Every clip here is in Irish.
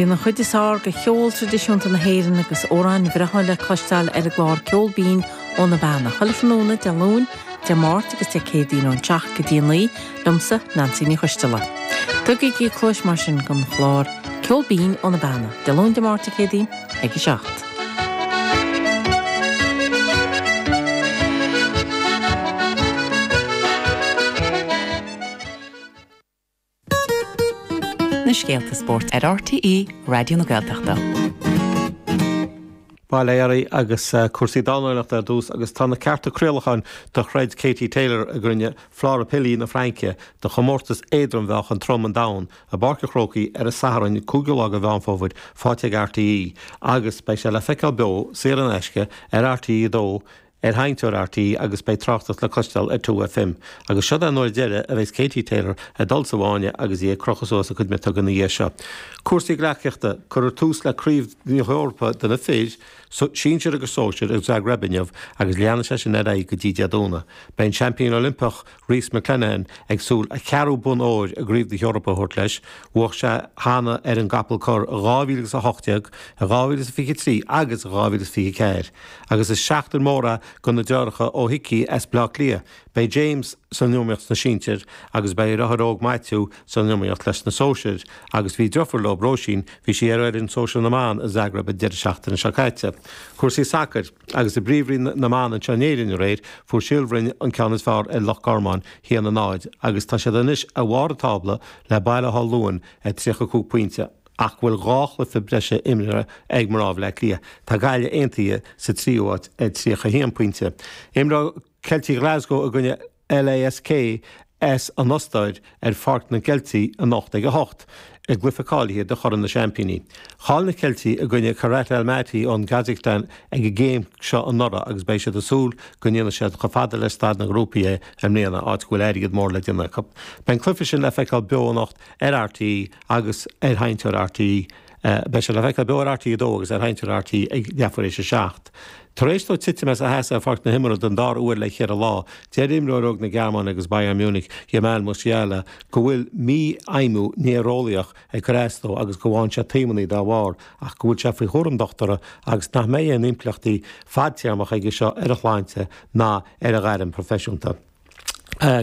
Bíonn an chuid is fearr de cheol traidisiúnta na hÉireann agus amhráin bhreátha le cloisteáil ar an gclár Ceol Binn ó na Beanna, chuile thráthnóna Dé Luain, Dé Máirt agus Dé Céadaoin ón 7 go dtí a 9, liomsa, Neansaí Ní Choisteala. Tugaigí cluais mar sin don chlár Ceol Binn ó na Beanna, Dé Luain, Dé Máirt, Dé Céadaoin ag a 7. Na scéalta spóirt ar RTÉ Raidió na Gaeltachta. Bail ó Dhia oraibh agus cúrsaí dornálaíochta ar dtús agus tá na cearta craolacháin do throid Katie Taylor i gcoinne Flora Pili na Fraince do chomórtas éadrom-mheáchan trom an domhain i bPáirc an Chrócaigh ar an Satharn 5ú lá de Mheán Fómhair faighte ag RTÉ agus beidh sé le feiceáil beo saor in aisce ar RTÉ 2 ar sheinnteoir RTÉ agus beidh tráchtaireacht le cloisteáil ar 2FM. Agus seod é an uair deiridh a bheas Katie Taylor ag dul sa bhfáinne agus í ag crochadh suas a cuid miotóga ina dhiaidh seo. Cúrsaí gleacaíochta, Cuireadh tús le Craobh na hEorpa do na fir, sinsir agus sóisir, i Zagreb inniu agus leanfaidh sé sin ar aghaidh go dtí Dé Domhnaigh. Beidh an seaimpín Oilimpeach Rhys McClenaghan ag súil a cheathrú bonn óir i gCraobh na hEorpa a thabhairt leis. Bhuaigh sé cheana ar an gcapall corr i 2018, i 2023 agus i 2024. Agus is seachtain mhór é do na deartháireacha Ó hIcí as Bleá Cliath. Beidh James san iomaíocht sna sinsir agus beidh a dheartháir óg Maitiú san iomaíocht leis na sóisir agus bhí deirfiúr leo, Róisín, bhí sí ar fhoireann sóisir na mban i Zagreb an deireadh seachtaine seo caite. Cúrsaí sacair Agus i bPríomhroinn na mban anseo in Éirinn aréir, fuair Síol Bhroin an ceann is fearr ar Loch Garman, 1-0, agus tá siad anois ar bharr an tábla le Baile Átha Luain ar 35 pointe ach go bhfuil dhá chluiche breise imeartha ag mná Bhaile Átha Cliath. Tá Gaillimh Aontaithe sa tríú háit ar 31 pointe. Imreoidh Ceiltigh Glasgow i gcoinne LASK as an Ostair ar Pháirc na gCeiltigh anocht ag 8 i gcluiche cáilithe do Chorn na Seaimpíní. Chaill na Ceiltigh i gcoinne Kairat Almaty ón gCasacstáin ag an gcéim seo anuraidh agus beidh siad ag súil go ndéanfaidh siad chomh fada le staid na ngrúpaí é i mbliana, áit go bhfuil airgead mór le déanamh acu. Beidh an cluiche sin le feiceáil beo anocht ar RTÉ agus ar sheinnteoir RTÉ. Beidh sé le feiceáil beo ar RTÉ 2 agus ar sheinnteoir RTÉ ag leathuair éis a 7. Tar éis dó titim as a sheasamh ar pháirc na himeartha don dara huair le ceithre lá, deir imreoir óg na Gearmáine agus Bayern Munich, Jamal Musiala, go bhfuil mífheidhmiú néareolaíoch ag cur as dó agus go bhfaigheann sé taomannaí dá bharr ach go bhfuil sé faoi chúram dochtúra agus nach mbeidh aon impleachtaí fadtéarmacha aige seo ar a shláinte ná ar a ghairm phroifisiúnta.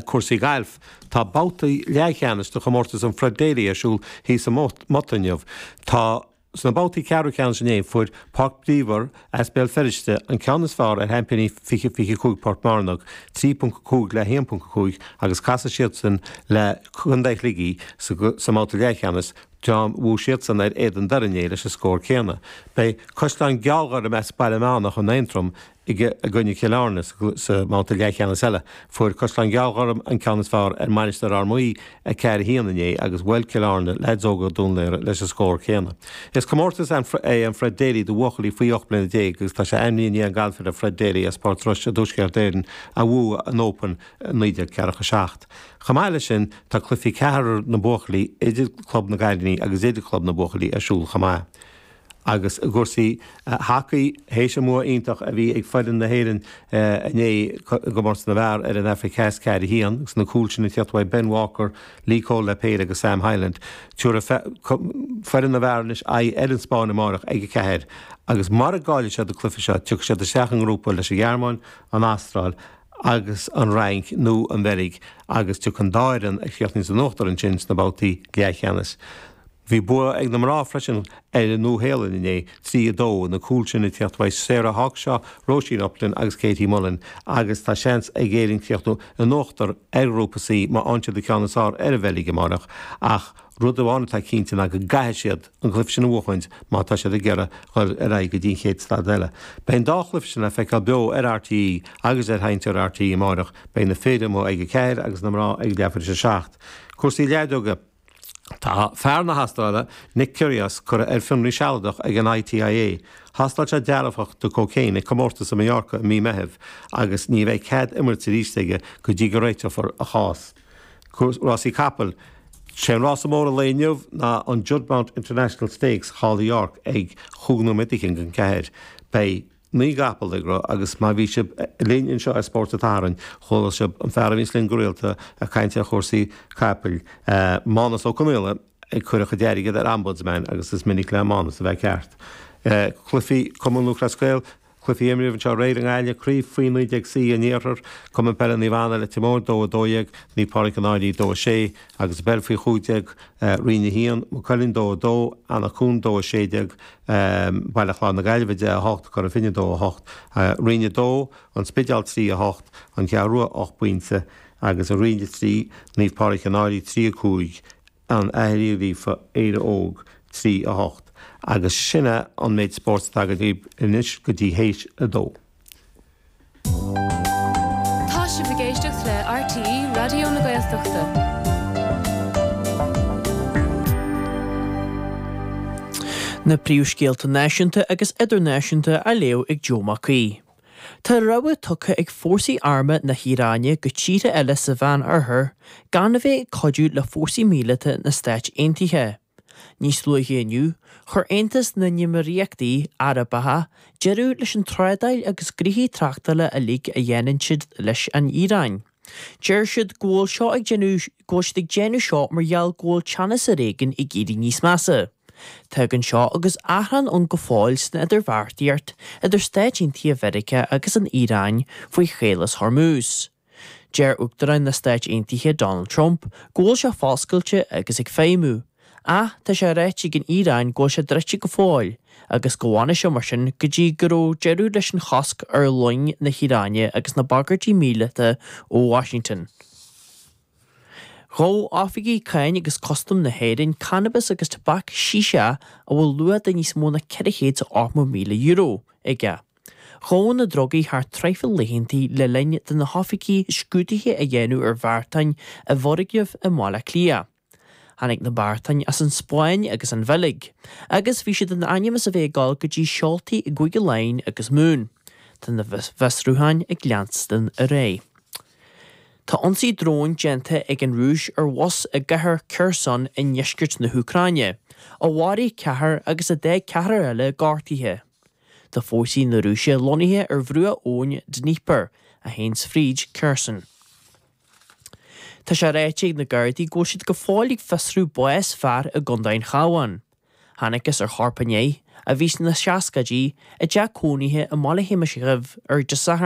Cúrsaí gailf. Tá babhtaí leathcheannais de chomórtas an Fred Daly ar siúl thíos i Mota inniu. Tá Sna babhtaí ceathrú ceannais inné, fuair Páirc Bríomhar as Béal Feirste an ceann is fearr ar sheaimpíní 2025 Port Mearnóg, 3.5 le 1.5, agus casfaidh siadsan le Contae Shligigh sa mbabhta leathcheannais, dream a bhuaigh siadsan ar Éadan Doire inné leis an scór céanna. Beidh Caisleán Gealghorm as Baile Meánach in Aontroim i gcoinne Chill Airne sa mbabhta leathcheannais eile. Fuair Caisleán Gealghorm an ceann is fearr ar Mainistir Fhear Maí, 4, 1 inné agus bhuail Cill Airne leaids óga Dún Laoghaire leis an scór céanna. Is comórtas é an Fred Daly do bhuachaillí faoi 18 mbliana agus tá sé ainmnithe i ndiaidh an galfaire Fred Daly as Port Rois i dTuaisceart Éireann a bhuaigh an Open i 1947. Chomh maith leis sin tá cluichí ceathrar na mbuachaillí idir Club na gCailíní agus idir Chlub na mBuachaillí ar siúl chomh maith. Agus i gcúrsaí hacaí, théis an bua iontach a bhí ag foireann na hÉireann inné i gcomórtas na bhfear ar an Afraic Theas 4, 1, agus na cúil sin ag teacht uaidh Ben Walker, Lee Cole le péire agus Sam Hyland, tabharfaidh foireann na bhfear anois aghaidh ar an Spáinn amárach ag 4 agus mura gcaillfidh siad an cluiche seo, tiocfaidh siad isteach i ngrúpa leis an Ghearmáin, an Astráil agus an Fhrainc nó an Bheilg agus tiocfaidh an dá fhoireann a chríochnaíonn san uachtar ansin sna babhtaí leathcheannais. Bhí bua ag na mná freisin ar an Nua-Shéalainn inné, 3, 2, na cúil sin ag teacht uaidh Sarah Hawkshaw, Róisín Upton agus Katie Mullan agus tá seans ag Éirinn críochnú in uachtar ar Ghrúpa C má fhaigheann siad an ceann is fearr ar an Bheilg amárach ach rud amháin atá cinnte ná go gcaithfidh siad an cluiche sin a bhuachaint má tá siad ag iarraidh dhul ar aghaidh go dtí an chéad staid eile. Beidh an dá chluiche sin le feiceáil beo ar RTÉ agus ar sheinnteoir RTÉ amárach. Beidh na fir amuigh ag 4 agus na mná ag leathuair tar éis a 7. Cúrsaí leadóige. Tá fear na hAstráile, Nick Kyrgios, curtha ar fionraí sealadach ag an ITIA. Thástáil sé dearfach do cocaine ag comórtas i Mallorca i mí Meithimh agus ní bheidh cead imirt arís aige go dtí go réiteofar a chás. Rásaí capaill. Sé an rása mór an lae inniu ná an Juddmonte International Stakes thall i York ag chúig nóiméad fhichead don ceathair. Beidh. 9 gcapall ag rith agus má bhí sibh linn anseo ar Spórt an tSathairn, chuala sibh an fear a bhíonns linn go rialta ag caint ar chúrsaí capaill, Mánus Ó Conaola. ag cur a chuid airgid ar Ombudsman agus is minic le Mánas a bheith ceart. Cluichí Cumann Lúthchleas Gael, Cluichí a imríodh anseo aréir i nGaillimh, Craobh Faoi 19 C an Iarthair, Cumann Peile Naomh Anna, Leitir Móir 2, 12, Naomh Pádraig an Fhailí 2, 6, agus i bpeil Faoi 15, Roinn 1, Maigh Cuilinn 2, 2, Eanach Cuain 2, 16, Baile Chláir na Gaillimhe 10, 8, Cora Finne 2, 8, Roinn 2, An Spidéal 3, 8, An Cheathrú Rua 8 bpointe, agus i Roinn 3, Naomh Pádraig an Fhailí 3, 5, An Fhaiche Líofa, Éire Óg, 3, 8. Agus sin é an méid spóirt atá againn daoibh anois go dtí théis a dó. Tá sibh ag éisteacht le RTÉ Raidió na Gaeltachta. Na príomhscéalta náisiúnta agus idirnáisiúnta á léamh ag Joe Mac Aoidh. Tá rabhadh tugtha ag fórsaí armtha na hIaráine go tíortha eile sa Mheán-Oirthear gan a bheith ag cuidiú le fórsaí míleata na Stáit Aontaithe. Níos luaithe inniu, chuir Aontas na nÉimíríochtaí Arabacha deireadh leis an trádáil agus gnoithí tráchtála uilig a dhéanann siad leis an Iaráin. Deir siad go bhfuil seo ag déanamh go bhfuil siad ag déanamh seo mar gheall go bhfuil teannas ar éigean ag éirí níos measa. Tagann seo agus achrann ann go fóill san idirbheartaíocht idir Stáit Aontaithe Mheiriceá agus an Iaráin faoi Chaolas Hormuz. Deir Uachtarán na Stáit Aontaithe Donald Trump go bhfuil sé foscailte agus ag feidhmiú, ach tá sé ráite ag an Iaráin go bhfuil sé druidte go fóill agus go bhfanfaidh sé mar sin go dtí go raibh deireadh leis an chosc ar loing na hIaráine agus na bagairtí míleata ó Washington. Ghabh oifigigh Cáin agus Custaim na hÉireann cannabas agus tobac shisha a bhfuil luach de níos mó ná €480,000 aige. Ghabhadh na drugaí thar tréimhse laethanta le linn do na hoifigigh scrúduithe a dhéanamh ar bheartáin i bhfoirgneamh i mBaile Átha Cliath. Tháinig na beartáin as an Spáinn agus an Bheilg, agus bhí siad in ainm is a bheith ag dul go dtí seoltaí i gCúige Laighean agus Mumhan. Tá na fiosrúcháin ag leanstan ar aghaidh. Tá ionsaí dróin déanta ag an Rúis ar bhus i gcathair Kherson i ndeisceart na hÚcráine, a mharaigh ceathrar agus a d'fhág ceathrar eile gortaithe. Tá fórsaí na Rúise lonnaithe ar bhruach abhainn Dnieper, a théanns fríd Kherson. Tá sé ráite ag na Gardaí go bhfuil siad go fóill ag fiosrú bás fear i gContae an Chabháin. Thángthas ar chorp inné, a bhí sna seascaidí, i dteach cónaithe i mBaile Shéamais Dhuibh ar Dé Sathairn.